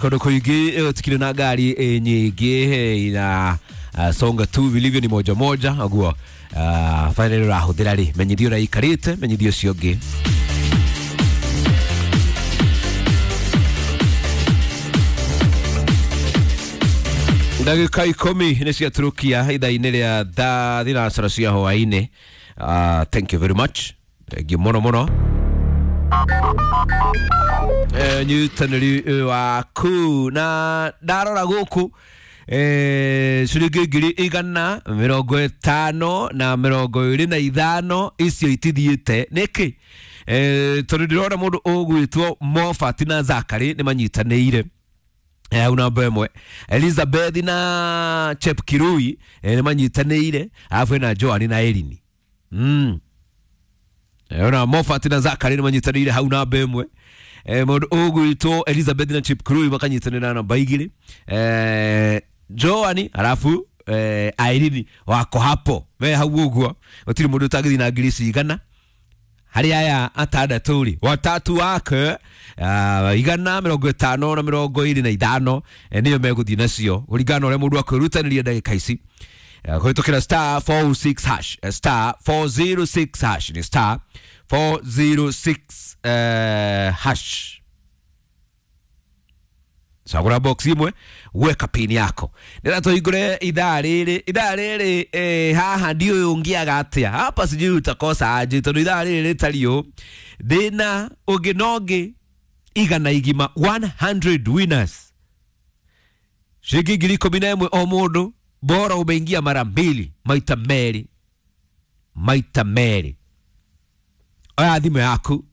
Kũndũ kũingĩ tikire na ngari nyingĩ ina songa tu vilivyo ni moja moja ũguo finally ũrahũthĩra rĩ menyithio ũrĩa ikarĩte menyithio ũcio ũngĩ. Ndagĩka 10 nĩ ciaturukia ithaa-inĩ rĩa thaa thinacara cia hwaĩ-inĩ. Thank you very much, thank you mũno mũno. Nyitanĩri waku na ndarora gũkũ ciringi 155,25 icio itithiĩte nĩkĩ? Tondũ ndĩrona mũndũ ũgwĩtwo Mofat na Zakary nĩ manyitanĩire hau namba ĩmwe, Elizabeth na Chepkirui nĩ manyitanĩire, arabu hena Joan na Erini. Ona Mofat na Zakary nĩ manyitanĩire hau namba ĩmwe, mũndũ ũgwĩtwo Elizabeth na Chepkirui makanyitanĩra namba 2, Joan arabu Irene wako hapo me hau ũguo. Gũtirĩ mũndũ ũtangĩthiĩ na ngiri ici 100 harĩ aya atandatũ rĩ, watatu wake 150 na 25 nĩyo megũthiĩ nacio kũringana na ũrĩa mũndũ akwĩrutanĩria ndagĩka ici kũhĩtũkĩra star 406 hash, star 406 hash, nĩ star 406 hash. Cagũra box imwe, weka pin yako nĩra tũhingũre ithaa rĩrĩ, ithaa rĩrĩ haha ndiũĩ ũngĩaga atĩa hapa, sijui utakosa aje tondũ ithaa rĩrĩ rĩtariĩ ũũ ndĩna ũngĩ na ũngĩ 100 igima, 100 winners, ciringi 11,000 o mũndũ, bora umeingia mara mbili, maita merĩ, maita merĩ. Oya thimũ yaku,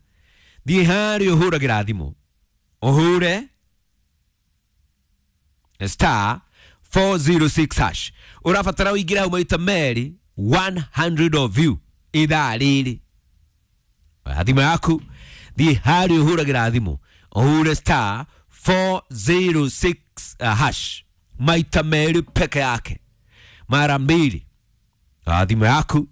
thiĩ harĩa ũhũragĩra thimũ, ũhũre star 406 hash. Ũrabatara ũingĩre hau maita merĩ, 100 of you ithaa rĩrĩ. Oya thimũ yaku, thiĩ harĩa ũhũragĩra thimũ, ũhure star 406 hash maita merĩ peke yake, mara mbili. Oya thimũ yaku,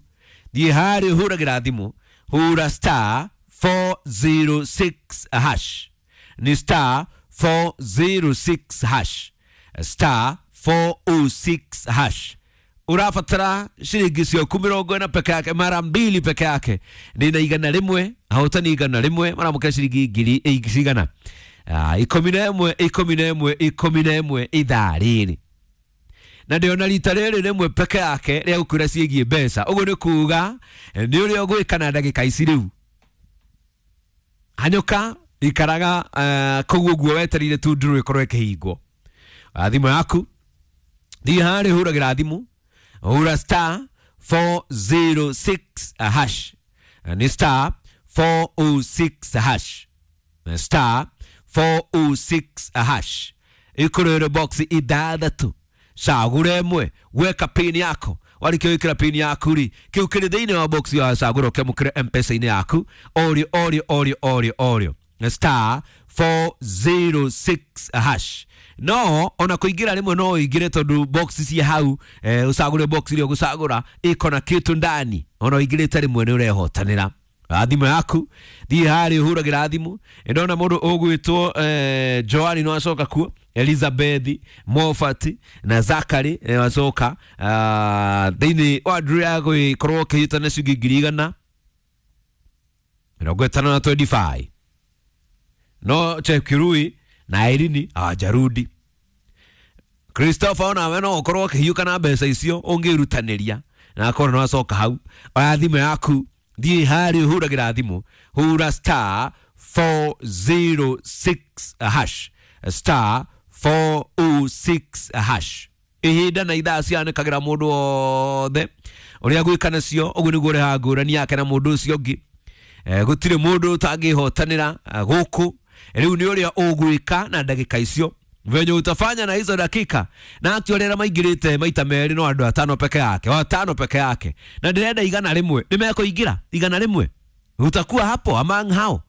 thiĩ harĩa ũhũragĩra thimũ, hura star 406 hash, ni star 406 hash, star 406 hash. Ũrabatara ciringi ciaku 40 peke yake, mara mbili peke yake. Nina 100, ahotani 100 maramũkĩra ciringi ngiri cigana 11, 11, 11 ithaa rĩrĩ. Na ndĩona rita rĩrĩ rĩmwe peke yake rĩa gũkwĩra ciĩgiĩ mbeca, ũguo nĩ kuga nĩ ũrĩa ũgwĩka na ndagĩka ici rĩu. Hanyũka, ikaraga kũu ũguo wetereire tu ndũrũ ĩkorwo ĩkĩhingwo. Thimũ yaku, thiĩ harĩa ũhũragĩra thimũ, hũra star 406 hash, nĩ star 406 hash, star 406 hash. Ĩkũrĩre box 6, cagũra ĩmwe, weka pin yako. Warĩkia gwĩkĩra pin yaku rĩ, kĩu kĩrĩ thĩinĩ wa box ya cagũra ũkĩamũkĩre M-Pesa-inĩ yaku orĩo orĩo orĩo orĩo orĩo, star 406 hash. No ona kũingĩra rĩmwe no ũingĩre tondũ box cia hau ũcagũre box iria ũgũcagũra ĩko na kĩtu ndani, ona ũingĩrĩte rĩmwe nĩ ũrehotanĩra. Thimũ yaku, thiĩ harĩa ũhũragĩra thimũ. Ndona mũndũ ũgwĩtwo Joani no acoka kuo, Elizabeth, Mofat na Zakary wacoka thĩinĩ wa nduru ya gũgĩkorwo ũkĩhĩtana ciringi 155 na 25, no Chepkirui na Irini hawajarudi. Christopher onawe no ũkorwo ũkĩhiũka na mbeca icio ũngĩrutanĩria na akorwo nĩ wacoka hau. Oya thimũ yaku, thiĩ harĩa ũhũragĩra thimũ, hũra star 406 hash, star 406 hash. Ihinda na ithaa cianĩkagĩra mũndũ wothe ũrĩa gwĩka nacio, ũguo nĩguo ũrehaga ngũrani yake na mũndũ ũcio ũngĩ. Gũtirĩ mũndũ ũtangĩhotanĩra gũkũ rĩu, nĩ ũrĩa ũgwĩka na ndagĩka icio, venye utafanya na hizo dakika. Na actually arĩa maingĩrĩte maita merĩ no andũ 5 peke yake, 5 peke yake, na ndĩrenda 100 nĩ mekũingĩra 100, utakuwa hapo among hao.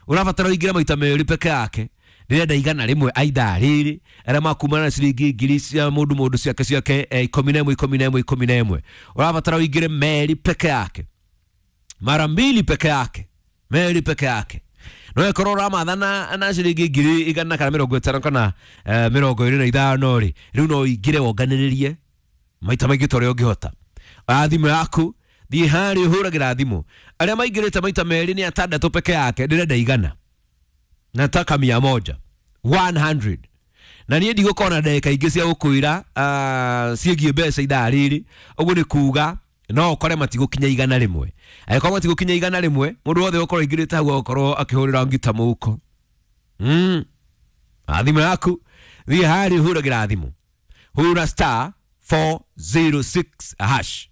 Ũrabatara ũingĩre maita merĩ peke yake. Ndĩrenda 100 aithaa rĩrĩ arĩa makumana na ciringi ngiri cia mũndũ mũndũ ciake ciake 11, 11, 11. Ũrabatara ũingĩre merĩ peke yake, mara mbili peke yake, merĩ peke yake. No ĩkorwo ũramatha na ciringi 100 kana 50 kana 25 rĩ, rĩu no ũingĩre wonganĩrĩrie maita maingĩ ta ũrĩa ũngĩhota. Oya thimũ yaku, thiĩ harĩa ũhũragĩra thimũ. Arĩa maingĩrĩte maita merĩ nĩ atandatũ peke yake, ndĩrenda 100. Nataka 100. 100. Na niĩ ndigũkorwo na ndagĩka ingĩ cia gũkwĩra ciĩgiĩ mbeca ithaa rĩrĩ. Ũguo nĩ kuga no ũkore matigũkinya 100. Angĩkorwo matigũkinya 100, mũndũ wothe ũgũkorwo aingĩrĩte hau agũkorwo akĩhũrĩra ngita mũhuko. Thimũ yaku, thiĩ harĩa ũhũragĩra thimũ. Hũra star 406 hash.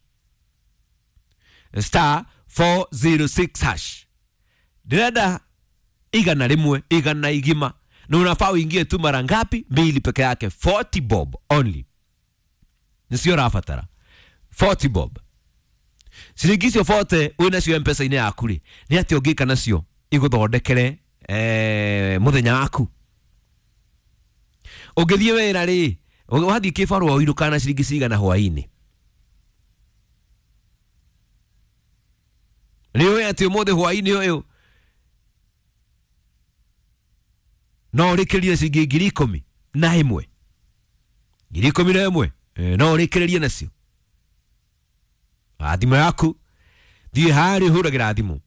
Star 406 hash. Ndĩrenda 100, 100 igima. Na unafaa uingie tu mara ngapi? 2 peke yake, 40 bob only. Nĩcio ũrabatara. 40 bob. Ciringi icio 40 wĩ nacio M-Pesa-inĩ yaku rĩ, nĩ atĩa ũngĩka nacio igũthondekere mũthenya waku? Ũngĩthiĩ wĩra rĩ, wathiĩ kĩbarũa ũinũkaga na ciringi cigana hwaĩ-inĩ? Nĩ ũĩ atĩ ũmũthĩ hwaĩ-inĩ ũyũ no ũrĩkĩrĩrie ciringi 11,000. 11,000, no ũrĩkĩrĩrie nacio. Thimũ yaku, thiĩ harĩa ũhũragĩra thimũ.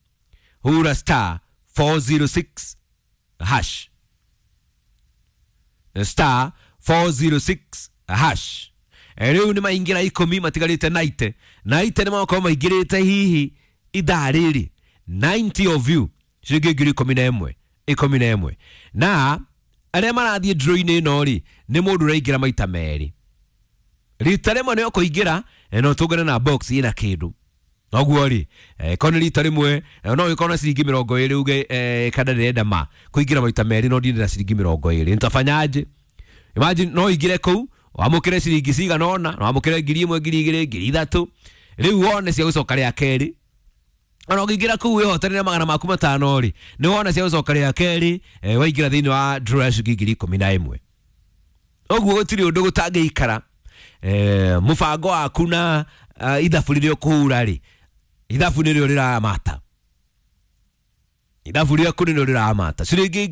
Hũra star 406 hash. Star 406 hash. Rĩu nĩ maingĩra 10 matigarĩte 90. 90 nĩ makorwo maingĩrĩte hihi ithaa rĩrĩ. 90 of you ciringi 11,000. 11. Na arĩa marathiĩ draw-inĩ ĩno rĩ, nĩ mũndũ ũraingĩra maita merĩ. Rita rĩmwe nĩ ũkũingĩra no tũngane na box ĩna kĩndũ. Noguo rĩ, korwo nĩ rita rĩmwe no ũkorwo na ciringi 20 uge kana ndĩrenda ma kũingĩra maita merĩ no ndirĩ na ciringi 20. Nitafanyaje? Imagine no ũingĩre kũu wamũkĩre ciringi cigana ũna, no wamũkĩre 1,000, 2,000, 3,000. Rĩu wone cia gũcoka rĩa kerĩ. Ona ũngĩingĩra kũu wĩhotanĩre 500 rĩ, nĩ wona cia gũcoka rĩa kerĩ, waingĩra thĩinĩ wa draw ya ciringi 11,000. Ũguo gũtirĩ ũndũ gũtangĩikara. Mũbango waku na ithabu rĩrĩa ũkũhũra rĩ, ithabu nĩrĩo rĩramata. Ithabu rĩaku nĩrĩo rĩramata. Ciringi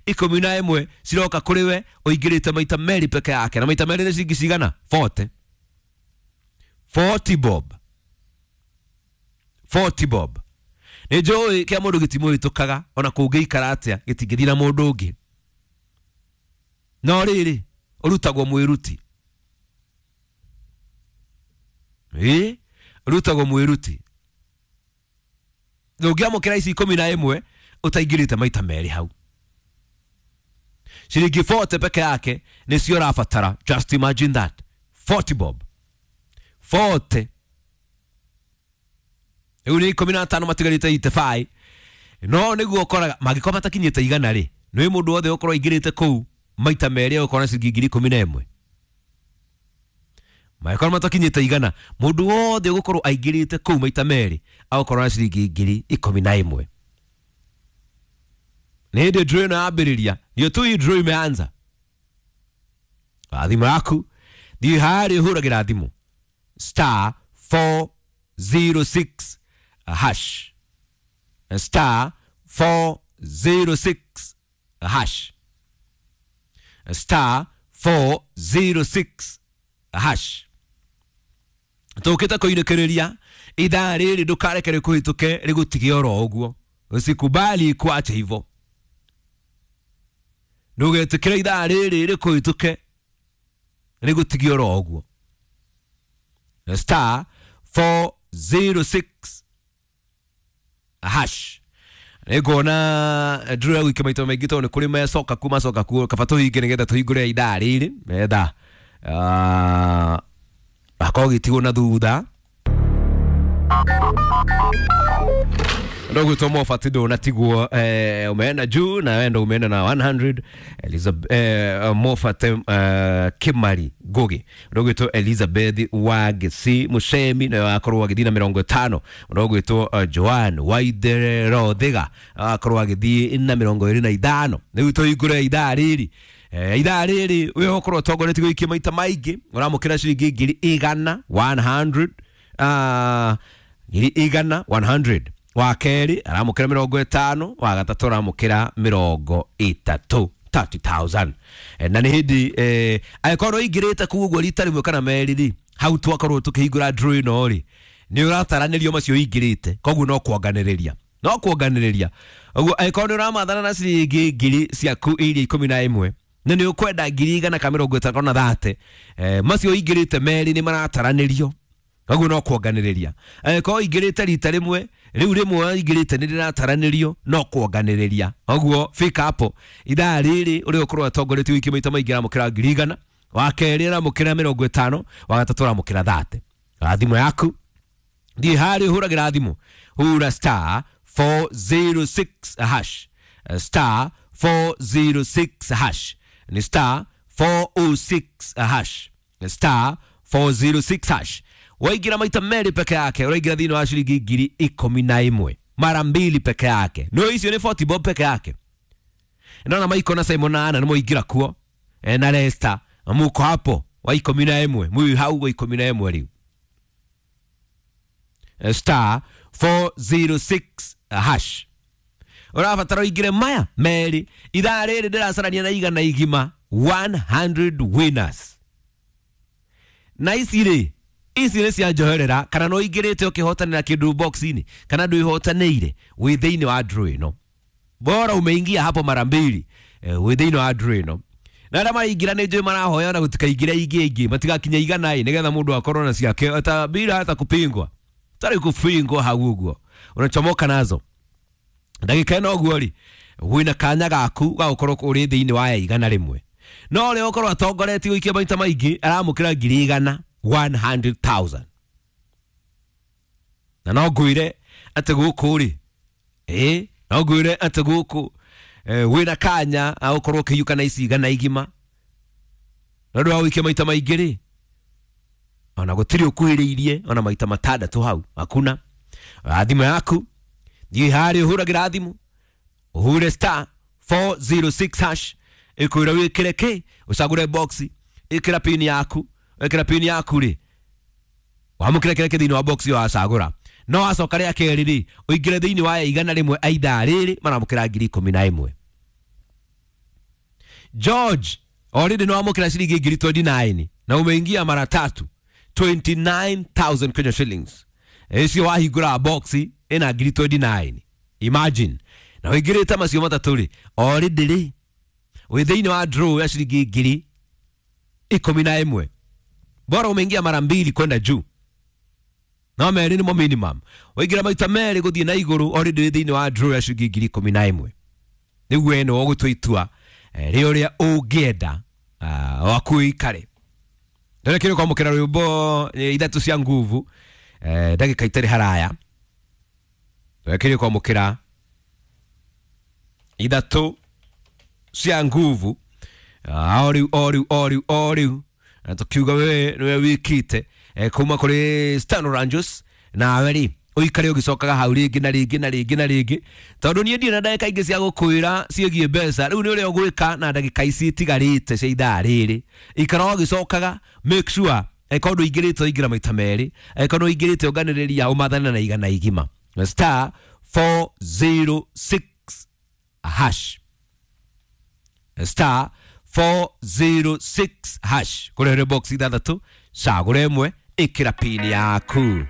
11,000 ciroka kũrĩ we ũingĩrĩte maita merĩ peke yake, na maita merĩ nĩ ciringi cigana? 40. 40 bob. 40 bob. Nĩ njũĩ kĩa mũndũ gĩtimũhĩtũkaga, ona kũngĩikara atĩa gĩtingĩthiĩ na mũndũ ũngĩ. No rĩrĩ, ũrutagwo mwĩruti. Ũrutagwo mwĩruti. Ndũngĩamũkĩra ici 11 ũtaingĩrĩte maita merĩ hau. Ciringi 40 peke yake nĩcio ũrabatara. Just imagine that. 40 bob. 40. Rĩu nĩ 15 matigarĩte 85. No nĩguo ũkoraga mangĩkorwo matakinyĩte 100 rĩ, nĩ mũndũ wothe ũkorwo aingĩrĩte kũu maita merĩ ũkorwo na ciringi 11,000. Mangĩkorwo matakinyĩte 100, mũndũ wothe ũgũkorwo aingĩrĩte kũu maita merĩ agũkorwo na ciringi 11,000. Nĩ hĩndĩ draw ĩno yambĩrĩria, ndio tu hii draw imeanza. Thimũ yaku, thiĩ harĩa ũhũragĩra thimũ. Star 406 hash. Star 406 hash. Star 406 hash. Tũkĩte kũinũkĩrĩria ithaa rĩrĩ, ndũkareke rĩkũhĩtũke rĩgũtige oro ũguo. Usikubali kuacha hivyo. Ndũgetĩkĩre ithaa rĩrĩ rĩkũhĩtũke rĩgũtige oro ũguo. Star 406 hash. Nĩnguona draw ya gwĩka maita maingĩ tondũ nĩ kũrĩ mecoka ku macoka ku, kaba tũhinge nĩgetha tũhingũre ithaa rĩrĩ metha akorwo gĩtigwo na thutha. Ndogo tomo fatido natigwo umeenda juu na wewe ndo umeenda na 100. Elizabeth Mofat Kimari Ngugi, ndogo to Elizabeth Wagisi Mushemi na akorwo agithii na 50. Ndogo to Joan Waidero Thiga akorwo agithii na 25. Riu tuingure ithaa riri, ithaa riri we ukorwo utongoretie guikia maita maingi uramukira ciringi 100,000 100 100,000 100. Wa kerĩ aramũkĩra 50, wa gatatũ aramũkĩra 30, 30,000. Na nĩ hĩndĩ angĩkorwo ũingĩrĩte kũu ũguo rita rĩmwe kana merĩ rĩ, hau twakorwo tũkĩhingũra draw ĩno rĩ, nĩ ũrataranĩrio macio ũingĩrĩte, koguo no kuonganĩrĩria, no kuonganĩrĩria. Ũguo angĩkorwo nĩ ũramathana na ciringi ngiri ciaku iria 11 na nĩ ũkwenda 100,000 ka 50 na 30, macio ũingĩrĩte merĩ nĩ marataranĩrio, koguo no kuonganĩrĩria. Angĩkorwo ũingĩrĩte rita rĩmwe, rĩu rĩmwe ũingĩrĩte nĩ rĩrataranĩrio, no kuonganĩrĩria. Ũguo fika hapo ithaa rĩrĩ ũrĩa ũkorwo atongoretie wiki maita maingĩ aramũkĩra 100,000, wa kerĩ aramũkĩra 50, wa gatatũ aramũkĩra 30. Thimũ yaku thiĩ harĩa ũhũragĩra thimũ, hura star 406 hash, star 406 hash, ni star 406 hash, star 406 hash. Waingira maita merĩ peke yake, ũraingĩra thĩinĩ wa ciringi 11,000 mara mbili peke yake. No icio nĩ 40 bob peke yake. Ndona Maiko na Simon na Anna nĩ moingĩra kuo, na Lester muko hapo wa 11, mwi hau wa 11 rĩu. Star 406 hash. Ũrabatara ũingĩre maya merĩ. Ithaa rĩrĩ ndĩracarania na 100, 100 winners. Na ici rĩ, ici nĩ cia njoherera, kana no ũingĩrĩte ũkĩhotanĩra kĩndũ box-inĩ, kana ndwĩhotanĩire, wĩ thĩinĩ wa draw ĩno. Bora umeingia hapo mara mbili, wĩ thĩinĩ wa draw ĩno. Na arĩa maraingĩra nĩ njũĩ marahoya na gũtikaingĩre ingĩ ingĩ, matigakinye 100 ĩ, nĩgetha mũndũ akorwo na ciake hata bila hata kupingwa. Tarĩ kupingwa hau ũguo. Unachomoka nazo. Ndagĩka ĩno ũguo rĩ, wĩna kanya gaku ga gũkorwo ũrĩ thĩinĩ wa 100. No ũrĩa ũkorwo atongoretie gũikia maita maingĩ aramũkĩra 100,000, 100,000. Na no ngwĩre atĩ gũkũ rĩ, no ngwĩre atĩ gũkũ wĩna kanya ga gũkorwo ũkĩiyũka na ici 100. Na ũndũ wa gũikia maita maingĩ rĩ, ona gũtirĩ ũkuhĩrĩirie ona maita 6 hau, hakuna. Thimũ yaku thiĩ harĩa ũhũragĩra thimũ, ũhure star 406 hash, ĩkwĩra wĩkĩre kĩ, ũcagũre box, ĩkĩra pin yaku, ĩkĩra pin yaku rĩ, wamũkĩre kĩrĩa kĩ thĩinĩ wa box ĩyo wacagũra. No wacoka rĩa kerĩ rĩ, ũingĩre thĩinĩ wa 100 a ithaa rĩrĩ maramũkĩra 11,000. George already no wamũkĩra ciringi 29,000 na umeingia mara tatu, 29,000 Kenya shillings. Icio wahingũra box ĩna 29,000. Imagine. Na ũingĩrĩte macio matatũ rĩ, already rĩ, wĩ thĩinĩ wa draw ya ciringi 11,000. Bora umeingia mara mbili kwenda juu. No merĩ nĩmo minimum. Waingĩra maita merĩ gũthiĩ na igũrũ, already wĩ thĩinĩ wa draw ya ciringi 11,000. Nĩguo ĩno ũgũtua itua rĩ ũrĩa ũngĩenda waku ũikare. Ndĩrekĩrwo kwamũkĩra rwĩmbo 3 cia nguvu, ndagĩka itarĩ haraya. Ndĩrekĩrwo kwamũkĩra 3 cia nguvu. Oriu oriu oriu oriu. Na tukiuga wewe niwe wikite kuma kuri Stan Rangers nawe ri uikare ugicokaga hau ringi na ringi na ringi na ringi tondu nie ndirĩ na ndagĩka ingĩ cia gũkwĩra ciĩgiĩ mbeca. Rĩu nĩ ũrĩa ũgwĩka na ndagĩka ici itigarĩte cia ithaa rĩrĩ, ikara ũgĩcokaga, make sure angĩkorwo ndũingĩrĩte ũingĩra maita merĩ, angĩkorwo nĩũingĩrĩte ũnganĩrĩria ũmathane na 100. Star 406 hash, star 406 hash, kũrehere box 6, cagũra ĩmwe, ĩkĩra pin yaku.